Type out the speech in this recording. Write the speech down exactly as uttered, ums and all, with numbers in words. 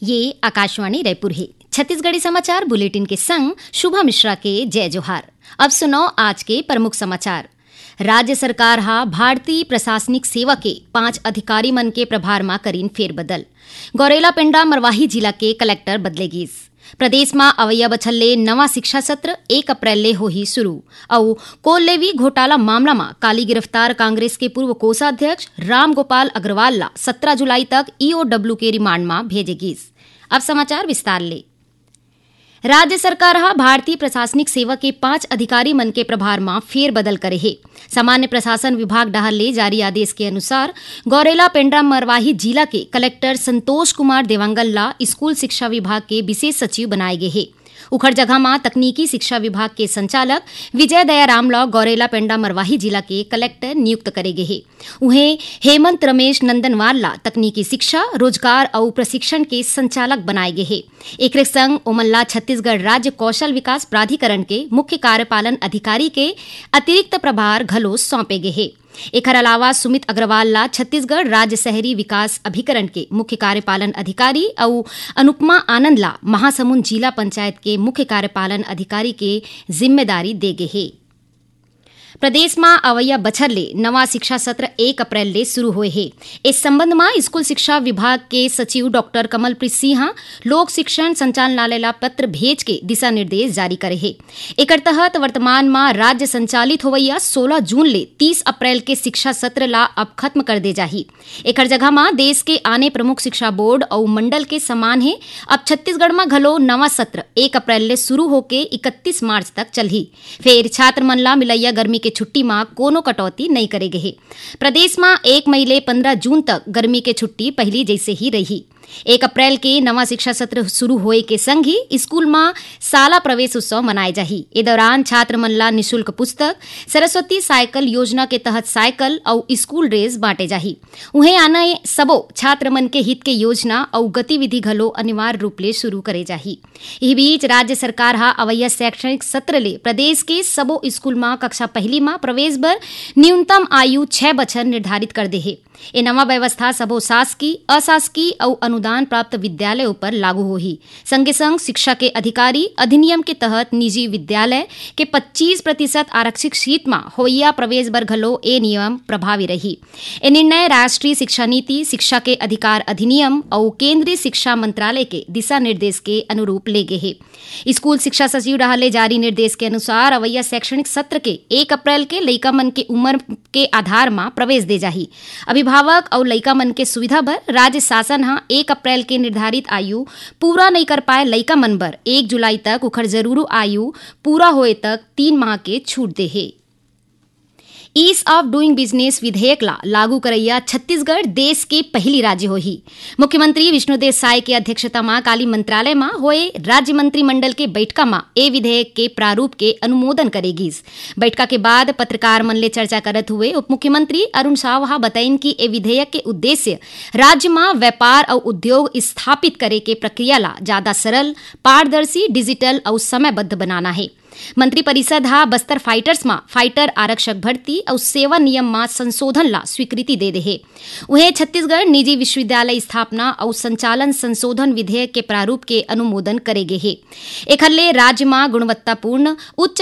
ये आकाशवाणी रायपुर हे। छत्तीसगढ़ी समाचार बुलेटिन के संग शुभा मिश्रा के जय जोहार। अब सुनव आज के प्रमुख समाचार। राज्य सरकार हा भारतीय प्रशासनिक सेवा के पांच अधिकारी मन के प्रभार मा करीन फेरबदल। गौरेला पेंड्रा मरवाही जिला के कलेक्टर बदले गीस। प्रदेश मा अवइया बछर ले नवा शिक्षा सत्र एक अप्रैल ले होही शुरू। अउ कोल लेवी घोटाला मामला मा काली गिरफ्तार कांग्रेस के पूर्व कोषाध्यक्ष रामगोपाल अग्रवाल ला सत्रह जुलाई तक ईओडब्ल्यू के रिमांड मा भेजे गीस। अब समाचार विस्तार ले। राज्य सरकार हा भारतीय प्रशासनिक सेवा के पांच अधिकारी मन के प्रभार मा फेरबदल करे हे। सामान्य प्रशासन विभाग डहार ले जारी आदेश के अनुसार, गौरेला पेंड्रा मरवाही जिला के कलेक्टर संतोष कुमार देवांगन ला स्कूल शिक्षा विभाग के विशेष सचिव बनाए गे हे। उखर जगह मा तकनीकी शिक्षा विभाग के संचालक विजय दयाराम ला गौरेला पेंड्रा मरवाही जिला के कलेक्टर नियुक्त करे गे हे। उहें, हेमंत रमेश नंदनवार ला तकनीकी शिक्षा, रोजगार अउ प्रशिक्षण के संचालक बनाए गे हे। एकरे संग ओमन ला छत्तीसगढ़ राज्य कौशल विकास प्राधिकरण के मुख्य कार्यपालन अधिकारी के अतिरिक्त प्रभार घलो सौंपे गे हे। एखर अलावा सुमित अग्रवाल ला छत्तीसगढ़ राज्य शहरी विकास अभिकरण के मुख्य कार्यपालन अधिकारी अउ अनुपमा आनंद ला महासमुंद जिला पंचायत के मुख्य कार्यपालन अधिकारी के जिम्मेदारी दे गे हे। प्रदेश मा अवइया बछर ले नवा शिक्षा सत्र एक अप्रैल ले शुरू होए हे। इस संबंध मा स्कूल शिक्षा विभाग के सचिव डॉक्टर कमलप्रीत सिंह लोक शिक्षण संचालनालय ला पत्र भेज के दिशा निर्देश जारी करे हे। एकर तहत वर्तमान मा राज्य संचालित होवइया सोलह जून ले तीस अप्रैल के शिक्षा सत्र ला अब खत्म कर दे जाही। एकर जगह मा देश के आने प्रमुख शिक्षा बोर्ड अउ मंडल के समान हे। अब छत्तीसगढ़ मा घलो नवा सत्र एक अप्रैल ले शुरू होके इकतीस मार्च तक चलही। फेर छात्र मन ला मिलइया गर्मी के छुट्टी मा कोनो कटौती नइ करे गे हे। प्रदेश मा एक मई ले पंद्रह जून तक गर्मी के छुट्टी पहिली जइसे ही रही। एक अप्रैल के नवा शिक्षा सत्र शुरू होए के संग ही स्कूल मा शाला प्रवेश उत्सव मनाए जाही। ए दौरान छात्र मन ला निशुल्क पुस्तक, सरस्वती साइकिल योजना के तहत साइकिल अउ स्कूल ड्रेस बांटे जाही। उहें, आने सबो छात्र मन के हित के योजना अउ गतिविधि घलो अनिवार्य रूप ले शुरू करे जाही। इही बीच, राज्य सरकार हा अवइया शैक्षणिक सत्र ले प्रदेश के सबो स्कूल मा कक्षा पहली मा प्रवेश बर न्यूनतम आयु छह बछर निर्धारित कर दे हे। ए नवा व्यवस्था सबो शासकीय, अशासकीय अउ अनुदान प्राप्त विद्यालय ऊपर लागू होही। संगे संग शिक्षा के अधिकारी अधिनियम के तहत निजी विद्यालय के पच्चीस प्रतिशत आरक्षित सीट मा होइया प्रवेश बर घलो ए नियम प्रभावी रही। ए निर्णय राष्ट्रीय शिक्षा नीति, शिक्षा के अधिकार अधिनियम अउ केंद्रीय शिक्षा मंत्रालय के दिशा निर्देश के अनुरूप ले गे हे। स्कूल शिक्षा सचिव डहार ले जारी निर्देश के अनुसार, अवइया शैक्षणिक सत्र के एक अप्रैल के लइका मन के उम्र के आधार मा प्रवेश दे जाही। अभिभावक अउ लइका मन के सुविधा बर राज्य शासन ह एक अप्रैल के निर्धारित आयु पूरा नइ कर पाए लइका मन बर एक जुलाई तक उखर जरूरी आयु पूरा होए तक तीन माह के छूट दे हे। Ease of Doing Business विधेयक ला लागू करइया छत्तीसगढ़ देश के पहिली राज्य होही। मुख्यमंत्री विष्णुदेव साय के अध्यक्षता मा काली मंत्रालय मा होए राज्य मंत्रिमंडल के बैठका मा ए विधेयक के प्रारूप के अनुमोदन करे गीस। बैठका के बाद पत्रकार मन ले चर्चा करत हुए उप मुख्यमंत्री अरुण साव हा बतइन कि ए विधेयक के उद्देश्य राज्य मा व्यापार अउ उद्योग स्थापित करे के प्रक्रिया ला ज्यादा सरल, पारदर्शी, डिजिटल अउ समयबद्ध बनाना हे। मंत्रिपरिषद हा बस्तर फाइटर्स मा फाइटर आरक्षक भर्ती अउ सेवा नियम मा संशोधन ला स्वीकृति दे दे हे। उहें, छत्तीसगढ़ निजी विश्वविद्यालय स्थापना अउ संचालन संशोधन विधेयक के प्रारूप के अनुमोदन करे गे हे। एखर ले राज्य मा गुणवत्तापूर्ण उच्च